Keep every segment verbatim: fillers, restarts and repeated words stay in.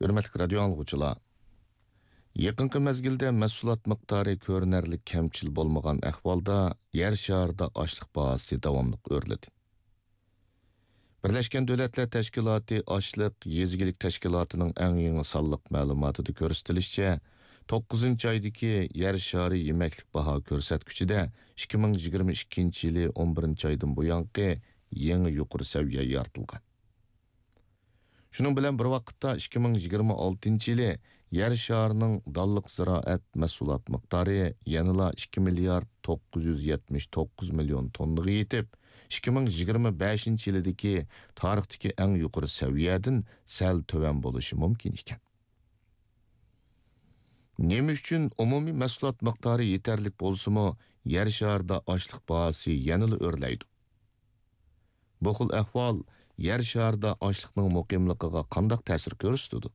ھۆرمەتلىك رادىيو ئاڭلىغۇچىلار، يېقىنقى مەزگىلدە مەھسۇلات مىقدارى كۆرۈنەرلىك كەمچىل بولمىغان ئەھۋالدا، يەر شارىدا ئاشلىق باھاسى داۋاملىق ئۆرلىدى. بىرلەشكەن دۆلەتلەر تەشكىلاتى ئاشلىق يېزا ئىگىلىك تەشكىلاتىنىڭ ئەڭ يېڭى سانلىق مەلۇماتىدا كۆرسىتىلىشىچە، توققۇزىنچى ئايدىكى يەر شارى يېمەكلىك باھا كۆرسەتكۈچىدە ئىككى مىڭ يىگىرمە ئىككىنچى يىلى ئون بىرىنچى ئايدىن بۇيانقى يېڭى يۇقىرى سەۋىيە يارىتىلغان. شۇنىڭ بىلەن بىر ۋاقىتتا، ئىككى مىڭ يىگىرمە ئالتىنچى يىلى يەر شارىنىڭ دانلىق زىرائەت مەھسۇلات مىقدارى يەنىلا ئىككى مىليارد توققۇز يۈز يەتمىش توققۇز مىليون توننىغا يېتىپ، ئىككى مىڭ يىگىرمە بەشىنچى يىلىدىكى تارىختىكى ئەڭ يۇقىرى سەۋىيەدىن سەل تۆۋەن بولۇشى مۇمكىن ئىكەن. نېمە ئۈچۈن ئومۇمىي مەھسۇلات مىقدارى يېتەرلىك بولسىمۇ، يەر شارىدا ئاشلىق باھاسى يەنىلا ئۆرلەيدۇ؟ بۇ خىل ئەھۋال يەر شارىدا ئاشلىقنىڭ مۇقىملىقىغا قانداق تەسىر كۆرسىتىدۇ؟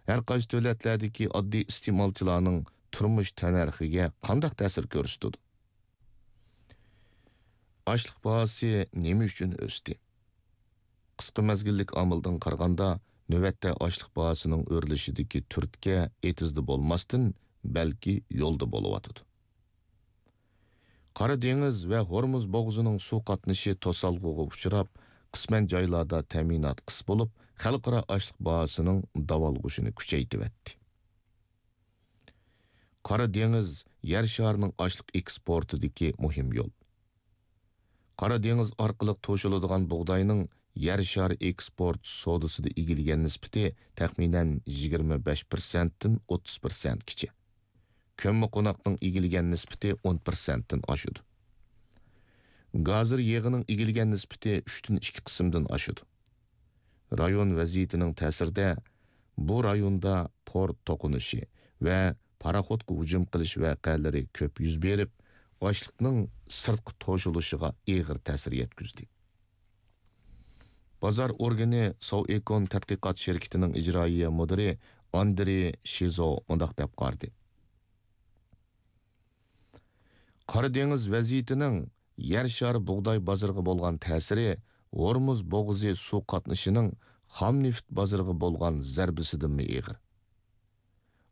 ھەر قايسى دۆلەتلەردىكى ئاددىي ئىستېمالچىلارنىڭ تۇرمۇش تەننەرخىگە قانداق تەسىر كۆرسىتىدۇ؟ ئاشلىق باھاسى نېمە ئۈچۈن ئۆستى؟ قىسقا مەزگىللىك ئامىلدىن قارىغاندا، نۆۋەتتە ئاشلىق باھاسىنىڭ ئۆرلىشىدىكى تۈرتكە ئېتىزدا بولماستىن، بەلكى يولدا بولۇۋاتىدۇ. قارا دېڭىز ۋە ھورمۇز بوغۇزىنىڭ سۇ قاتنىشى توسالغۇغا ئۇچراپ، قىسمەن جايلاردا تەمىنات قىس بولۇپ، خەلقئارا ئاشلىق باھاسىنىڭ داۋالغۇشىنى كۈچەيتىۋەتتى. قارا دېڭىز يەر شارىنىڭ ئاشلىق ئېكسپورتىدىكى مۇھىم يول. قارا دېڭىز ئارقىلىق توشۇلىدىغان بۇغداينىڭ يەر شارى ئېكسپورت سودىسىدا ئىگىلىگەن نىسبىتى تەخمىنەن يىگىرمە بەش پىرسەنتتىن ئوتتۇز پىرسەنتكىچە. كۆممىقوناقنىڭ ئىگىلىگەن نىسبىتى ئون پىرسەنتتىن ئاشىدۇ. گازىر يېغىنىڭ ئىگىلىگەن نىسبىتى ئۈچتىن ئىككى قىسىمدىن ئاشىدۇ. رايون ۋەزىيىتىنىڭ تەسىرىدە بۇ رايوندا پورت توقۇنۇشى ۋە پاراخوتقا ھۇجۇم قىلىش ۋەقەلىرى كۆپ يۈز بېرىپ، ئاشلىقنىڭ سىرتقا توشۇلۇشىغا ئېغىر تەسىر يەتكۈزدى. بازار ئورگىنى سوۋېكون تەتقىقات شىركىتىنىڭ ئىجرائىيە مۇدىرى ئاندرېي شىزو مۇنداق دەپ قارىدى: قارا دېڭىز ۋەزىيىتىنىڭ يەر شارى بۇغداي بازىرىغا بولغان تەسىرى ھورمۇز بوغۇزى سۇ قاتنىشىنىڭ خام نېفىت بازىرىغا بولغان زەربىسىدىنمۇ ئېغىر.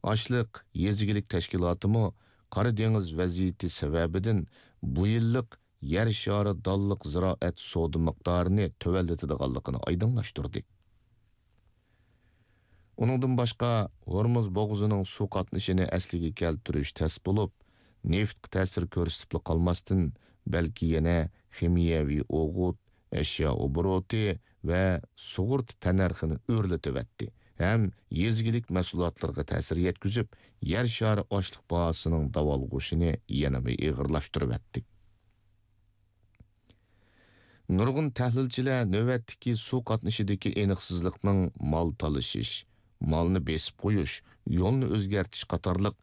ئاشلىق يېزا ئىگىلىك تەشكىلاتىمۇ قارا دېڭىز ۋەزىيىتى سەۋەبىدىن بۇ يىللىق يەر شارى دانلىق زىرائەت سودا مىقدارىنى تۆۋەنلىتىدىغانلىقىنى ئايدىڭلاشتۇردى. ئۇنىڭدىن باشقا، ھورمۇز بوغۇزىنىڭ سۇ قاتنىشىنى ئەسلىگە كەلتۈرۈش تەس بولۇپ، نېفىتقا تەسىر كۆرسىتىپلا قالماستىن، بەلكى يەنە خىمىيەۋى ئوغۇت، ئەشيا ئوبوروتى ۋە سۇغۇرتا تەننەرخىنى ئۆرلىتىۋەتتى ھەم يېزا ئىگىلىك مەھسۇلاتلىرىغا تەسىر يەتكۈزۈپ، يەر شارى ئاشلىق باھاسىنىڭ داۋالغۇشىنى يەنىمۇ ئېغىرلاشتۇرۇۋەتتى. نۇرغۇن تەھلىلچىلەر نۆۋەتتىكى سۇ قاتنىشىدىكى ئېنىقسىزلىقنىڭ مال تالىشىش، مالنى بېسىپ قويۇش، يولنى ئۆزگەرتىش قاتارلىق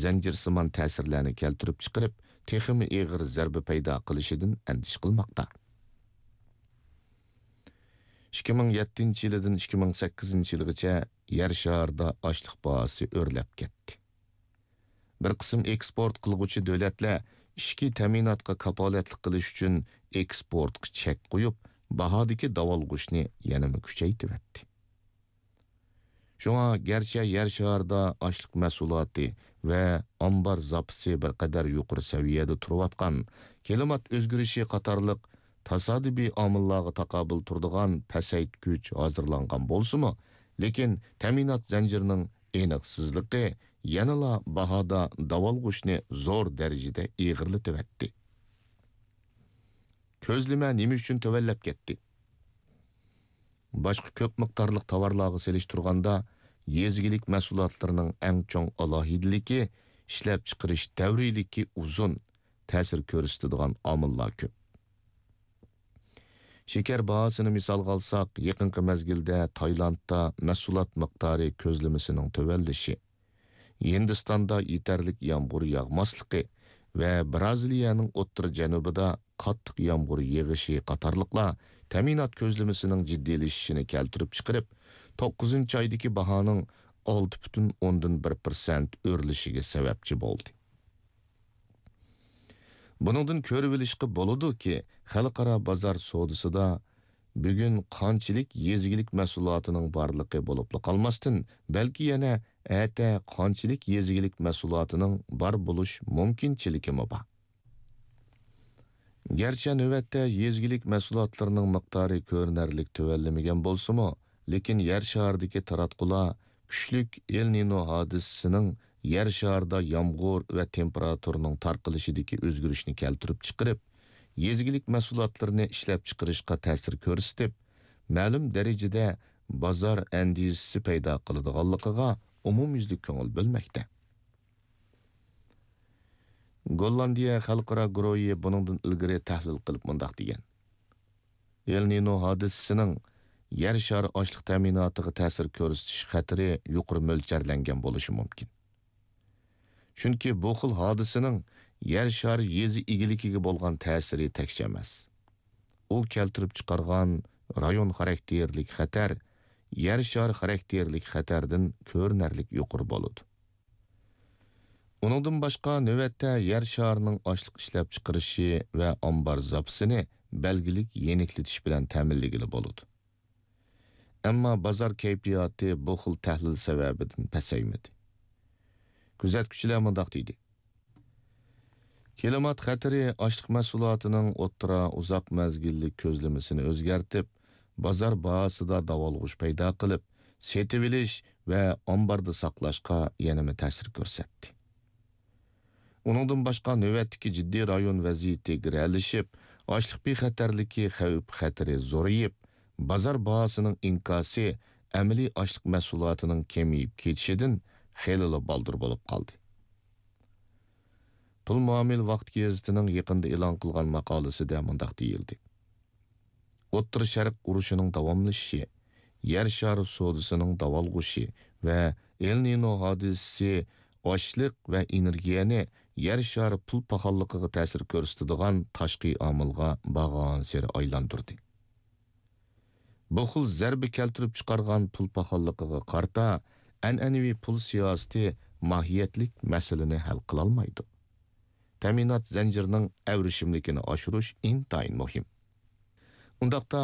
زەنجىرسىمان تەسىرلەرنى كەلتۈرۈپ چىقىرىپ، تېخىمۇ ئېغىر زەربە پەيدا قىلىشىدىن ئەندىشە قىلماقتا. ئىككى مىڭ يەتتىنچى يىلىدىن ئىككى مىڭ سەككىزىنچى يىلغىچە يەر شارىدا ئاشلىق باھاسى ئۆرلەپ كەتتى. بىر قىسىم ئېكسپورت قىلغۇچى دۆلەتلەر ئىچكى تەمىناتقا كاپالەتلىك قىلىش ئۈچۈن ئېكسپورتقا چەك قويۇپ، باھادىكى داۋالغۇشنى يەنىمۇ كۈچەيتىۋەتتى. شۇڭا گەرچە يەر شارىدا ئاشلىق مەھسۇلاتى ۋە ئامبار زاپىسى بىر قەدەر يۇقىرى سەۋىيەدە تۇرۇۋاتقان، كىلىمات ئۆزگىرىشى قاتارلىق تاسادىپىي ئامىللارغا تاقابىل تۇرىدىغان پەسەيتكۈچ ھازىرلانغان بولسىمۇ، لېكىن تەمىنات زەنجىرىنىڭ ئېنىقسىزلىقى يەنىلا باھادا داۋالغۇشنى زور دەرىجىدە ئېغىرلىتىۋەتتى. كۆزلىمە نېمە ئۈچۈن تۆۋەنلەپ كەتتى؟ باشقا كۆپ مىقدارلىق تاۋارلارغا سېلىشتۇرغاندا، يېزا ئىگىلىك مەھسۇلاتلىرىنىڭ ئەڭ چوڭ ئالاھىدىلىكى ئىشلەپچىقىرىش دەۋرىيلىكى ئۇزۇن، تەسىر كۆرسىتىدىغان ئامىللار كۆپ. شېكەر باھاسىنى مىسالغا ئالساق، يېقىنقى مەزگىلدە تايلاندتا مەھسۇلات مىقدارى كۆزلىمىسىنىڭ تۆۋەنلىشى، ھىندىستاندا يېتەرلىك يامغۇر ياغماسلىقى ۋە بىرازىلىيەنىڭ ئوتتۇرا جەنۇبىدا قاتتىق يامغۇر يېغىشى قاتارلىقلار تەمىنات كۆزلىمىسىنىڭ جىددىيلىشىشىنى كەلتۈرۈپ چىقىرىپ، توققۇزىنچى ئايدىكى باھانىڭ ئالتە پۈتۈن ئوندىن بىر پىرسەنت ئۆرلىشىگە سەۋەبچى بولدى. بۇنىڭدىن كۆرۈۋېلىشقا بولىدۇكى، خەلقئارا بازار سودىسىدا بۈگۈن قانچىلىك يېزا ئىگىلىك مەھسۇلاتىنىڭ بارلىقى بولۇپلا قالماستىن، بەلكى يەنە ئەتە قانچىلىك يېزا ئىگىلىك مەھسۇلاتىنىڭ بار بولۇش مۇمكىنچىلىكىمۇ بار. گەرچە نۆۋەتتە يېزا ئىگىلىك مەھسۇلاتلىرىنىڭ مىقدارى كۆرۈنەرلىك تۆۋەنلىمىگەن بولسىمۇ، لېكىن يەر شارىدىكى تاراتقۇلار كۈچلۈك ئېل نىنو ھادىسىسىنىڭ يەر شارىدا يامغۇر ۋە تېمپېراتۇرىنىڭ تارقىلىشىدىكى ئۆزگىرىشنى كەلتۈرۈپ چىقىرىپ، يېزا ئىگىلىك مەھسۇلاتلىرىنى ئىشلەپچىقىرىشقا تەسىر كۆرسىتىپ، مەلۇم دەرىجىدە بازار ئەندىزىسى پەيدا قىلىدىغانلىقىغا ئومۇميۈزلۈك كۆڭۈل بۆلمەكتە. گوللاندىيە خەلقئارا گۇرۇھى بۇنىڭدىن ئىلگىرى تەھلىل قىلىپ مۇنداق دېگەن: ئېل نىنو ھادىسىسىنىڭ يەر شارى ئاشلىق تەمىناتىغا تەسىر كۆرسىتىش خەتىرى يۇقىرى مۆلچەرلەنگەن بولۇشى مۇمكىن. چۈنكى بۇ خىل ھادىسىنىڭ يەر شارى يېزا ئىگىلىكىگە بولغان تەسىرى تەكشى ئەمەس. ئۇ كەلتۈرۈپ چىقارغان رايون خاراكتېرلىك خەتەر يەر شارى خاراكتېرلىك خەتەردىن كۆرۈنەرلىك يۇقىرى بولىدۇ. ئۇنىڭدىن باشقا، نۆۋەتتە يەر شارىنىڭ ئاشلىق ئىشلەپچىقىرىشى ۋە ئامبار زاپىسىنى بەلگىلىك يېنىكلىتىش بىلەن تەمىنلىگىلى بولىدۇ. ئەمما بازار كەيپىياتى بۇ خىل تەھلىل سەۋەبىدىن پەسەيمىدى. كۆزەتكۈچىلەر مۇنداق دېدى: كىلىمات خەتىرى ئاشلىق مەھسۇلاتىنىڭ ئوتتۇرا، ئۇزاق مەزگىللىك كۆزلىمىسىنى ئۆزگەرتىپ، بازار باھاسىدا داۋالغۇش پەيدا قىلىپ، سېتىۋېلىش ۋە ئامباردا ساقلاشقا يەنىمۇ تەسىر كۆرسەتتى. ئۇنىڭدىن باشقا، نۆۋەتتىكى جىددىي رايون ۋەزىيىتى گىرەلىشىپ، ئاشلىق بىخەتەرلىكى خەۋپ خەتىرى زورىيىپ، بازار باھاسىنىڭ ئىنكاسى ئەمەلىي ئاشلىق مەھسۇلاتىنىڭ كېمىيىپ كېتىشىدىن خېلىلا بالدۇر بولۇپ قالدى. پۇل مۇئامىلە ۋاقتى گېزىتىنىڭ يېقىندا ئېلان قىلغان ماقالىسىدە مۇنداق دېيىلدى: ئوتتۇرا شەرق ئۇرۇشىنىڭ داۋاملىشىشى، يەر شارى سودىسىنىڭ داۋالغۇشى ۋە ئېل نىنو ھادىسىسى ئاشلىق ۋە ئېنېرگىيەنى يەر شارى پۇل پاخاللىقىغا تەسىر كۆرسىتىدىغان تاشقى ئامىلغا بارغانسېرى ئايلاندۇردى. بۇ خىل زەربە كەلتۈرۈپ چىقارغان پۇل پاخاللىقىغا قارىتا، ئەنئەنىۋى پۇل سىياسىتى ماھىيەتلىك مەسىلىنى ھەل قىلالمايدۇ. تەمىنات زەنجىرىنىڭ ئەۋرىشىملىكىنى ئاشۇرۇش ئىنتايىن مۇھىم. ئۇنداقتا،